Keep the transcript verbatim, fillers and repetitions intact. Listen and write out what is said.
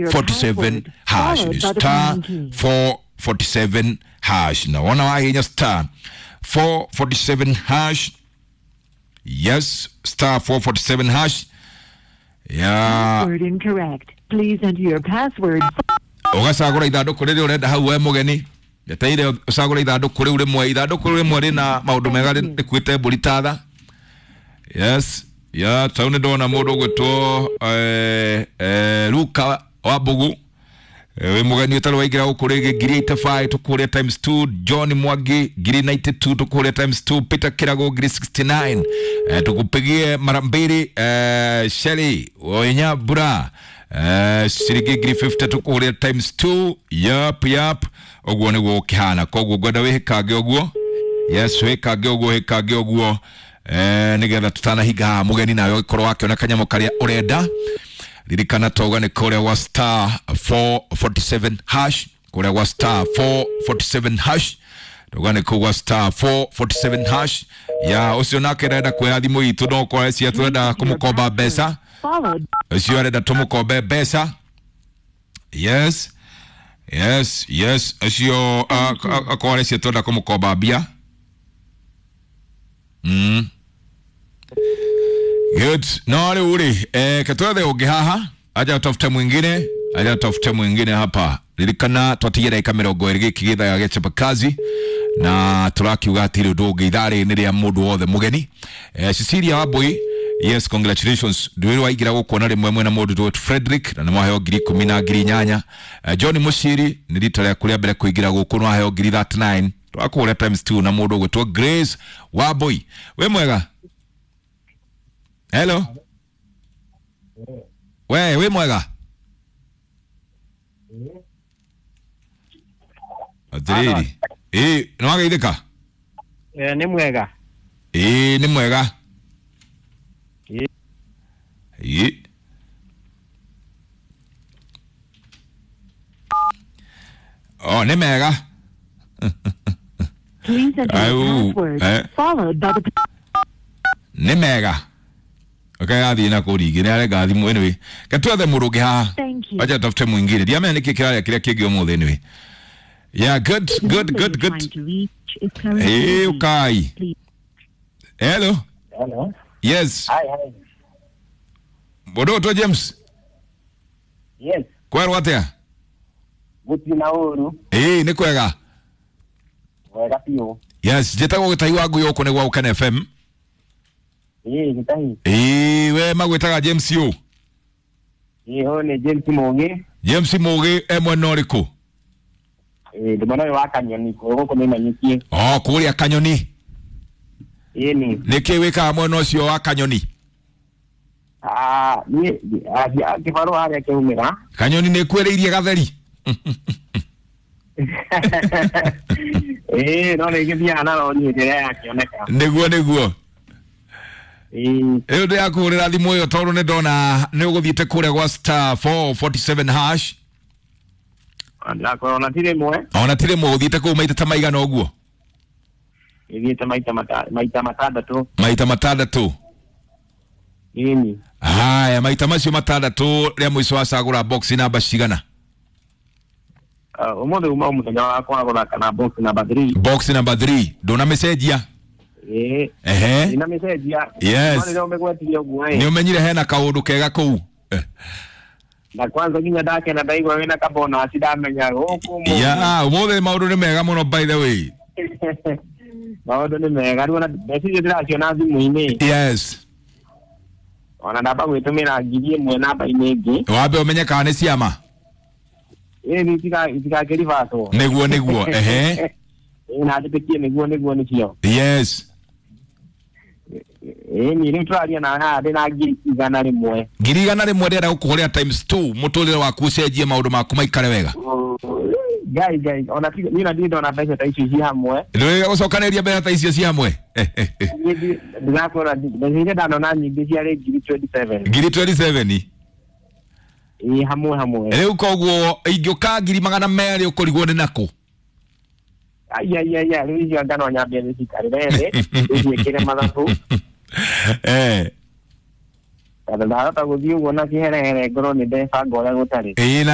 forty-seven hash. Followed by the Star pound key. four forty-seven hash. Na wona wahinya star four forty-seven hash. Yes, star four forty-seven hash. Ya Password incorrect. Please enter your password. Ũgacagũra ithandũkũ rĩrĩa ũrenda hau we mũgeni ndeteire ũcagũre ithandũkũ rĩu rĩmwe ithandũkũ rĩu rĩmwe rĩna maũndũ mega rĩkuĩte mbũri tatha. Yes, ya tau nĩ ndona mũndũ ũgwĩtwo eh, eh, Luka wa Mbugu. Eh, wĩ mũgeni ũtarĩ waingĩra gũkũ rĩngĩ ngiri eighty-five tũkũrĩa times two. John Mwangi ngiri ninety-two tũkũrĩa times two. Peter Kirago ngiri sixty-nine eh, tukupigie mara mbili. eh, Shelly Oinyabura eh, ciringi ngiri fifty tũkũrĩa times two. Yap yap, ũguo nĩguo ũkĩhana, koguo ngwenda wĩhĩkange ũguo. Yes, wĩkange ũguo, wĩkange ũguo eh, nĩgetha tũtanahinga haha mũgeni nawe ũgĩkorwo wakĩona kanyamũ karĩa ũrenda. Ririkana toga nĩ kũrĩa gwa star four forty-seven hash, kũrĩa gwa star four forty-seven hash, toga nĩ kũu gwa star four forty-seven hash. Ya ũcio nake arenda kuoya thimũ itũ no kwa cia tũrenda kũmũkomba mbeca, Followed ũcio arenda tũmũkombe mbeca. Yes, yes, yes, ũcio akorwo areciria tũrenda kũmũkomba mbia. Mm. Good. No rĩu rĩ, eh, ketwethe ũngĩ haha, aja tafute mwingine, aja tafute mwingine hapa. Ririkana twatigia ndagĩka mĩrongo ĩrĩ gĩkĩ gĩthaa gĩa chapakazi na tũrakiuga atĩ ũndũ ũngĩ ithaa rĩrĩ nĩ rĩa mũndũ wothe mũgeni. Eh, Cecilia Wambui, yes, congratulations. Ndwĩrĩ waingĩra gũkũ na rĩmwe mwena mũndũ ndwĩtwo Frederick na nĩ mwaheo ngiri ikũmi na ngiri inyanya. Eh, John Mũciri nĩ rita rĩaku rĩa mbere kũingĩra gũkũ nĩ waheo ngiri thirty-nine. Twakũhũra times two na mũndũ ũgwĩtwo Grace Wambui. Wĩ mwega? Hello. We, wĩ mwega? Atĩrĩrĩ. Ĩ, nĩ wageithĩka? Eh, nĩ mwega. Ĩ, nĩ mwega. Ĩ. Ĩ. Oh, nĩ mega. Please enter your Au, password eh. followed by the Nĩ mega. Okay, athiĩ na kũu rĩngĩ nĩ arenga thimũ anyway. Ketwethe mũndũ ũngĩ haha. Thank you. Acha tafute mwingine. Ndiamenya nĩkĩ kĩrarĩa kĩrĩa kĩngĩ ũmũthĩ anyway. Yeah, good, The good, number good, you're good. trying to reach is currently Hey, busy. ukai. Please Hello. Hello. Yes. Hi, hi. Mũndũ ũgwĩtwo James. Yes. Kwerwo atĩa? Gũtirĩ na ũru. Ĩĩ, nĩ kwega. Wega biũ. Yes, njĩtagwo Gĩtahi wa Ngui gũkũ nĩ gwa Ũkene F M. Ĩĩ, Gĩtahi. Ĩĩ, we magwĩtaga James ũ? Ĩĩ, ũyũ nĩ James Mũgĩ. James Mũgĩ e mwena ũrĩkũ? Ĩĩ, ndĩ mwena ũyũ wa Kanyoni, gũkũ nĩmenyithie. Oh, kũrĩa Kanyoni. Ĩĩ nĩ. Nĩkĩ wĩkaga mwena ũcio wa Kanyoni? Ah, niĩ kĩbarũa harĩa kĩaumĩra. Kanyoni nĩ kwĩrĩirie gatheri. Ĩĩ, no nĩ gĩthiaga na rori hĩndĩ ĩrĩa yakĩoneka. Nĩguo, nĩguo. Ĩĩ. Rĩu ndĩrakũhũrĩra thimũ ĩyo tondũ nĩ ndona nĩ ũgũthiĩte kũrĩa gwa star four forty-seven hash. Ndĩrakorwo ona ti rĩmwe. Ona ti rĩmwe ũthiĩte kũu maita ta maigana ũguo? Ĩthiĩte maita mata- maita matandatũ. Maita matandatũ. Ĩni. Haya, maita macio matandatũ rĩa mũico wacagũra box namba cigana? Ah, ũmũthĩ uma mũthenya wakwa gũthaka na box number three. Box number three. Ndũnamĩcenjia? Ĩĩ. Ehe. Ndinamĩcenjia. Yes. No rĩrĩa ũmĩgwetirie ũguo ĩ. Nĩ ũmenyire hena kaũndũ kega kũu? Eh. Na kwanza nginya ndakena ndaigua wĩna kabonus ndamenya gũkũ ũmũthĩ. Ya, ũmũthĩ maũndũ nĩ mega mũno by the way. Maũndũ nĩ mega rĩu ona mbeca icio ndĩraciona thimũ-inĩ. Yes. Ona ndamba gwĩtũmĩra ngiri ĩmwe namba-inĩ ĩngĩ. Wambe ũmenye kana nĩ ciama. Ĩĩ, itika- itikakĩribatwo. Nĩguo, nĩguo, ehe. Ĩĩ, na njĩtĩkie nĩguo, nĩguo nĩcio. Yes. Ĩĩ, niĩ rĩu tũraria na haha ndĩna ngiri igana rĩmwe. Ngiri igana rĩmwe ndĩrenda gũkũhũrĩra times two mũtũrĩre waku ũcenjie maũndũ maku maikare wega. Ngai, Ngai, ona ti- niĩ na ndirĩ ndona mbeca ta icio ci hamwe. Ndũrĩ gũcokanĩrĩria mbeca ta icio ci hamwe? Eh, eh, eh. Niĩ ndi- ndĩrakwĩra ndi- mbeca iria ndanona nyingĩ ciarĩ ngiri twenty-seven. Ngiri twenty-seven? Ĩĩ, hamwe hamwe. Rĩu koguo ingĩũka ngiri magana merĩ ũkũrigwo nĩ nakũ? Ai, ai, ai, ai, rĩu icio anga no nyambie ndĩcikarĩre thĩ, ndĩciĩkĩre mathabu. Eh. Tondũ ndahota gũthiĩ ũguo na kĩherehere ngorwo nĩ ndebanga ũrĩa gũtarĩ. Ĩĩ na.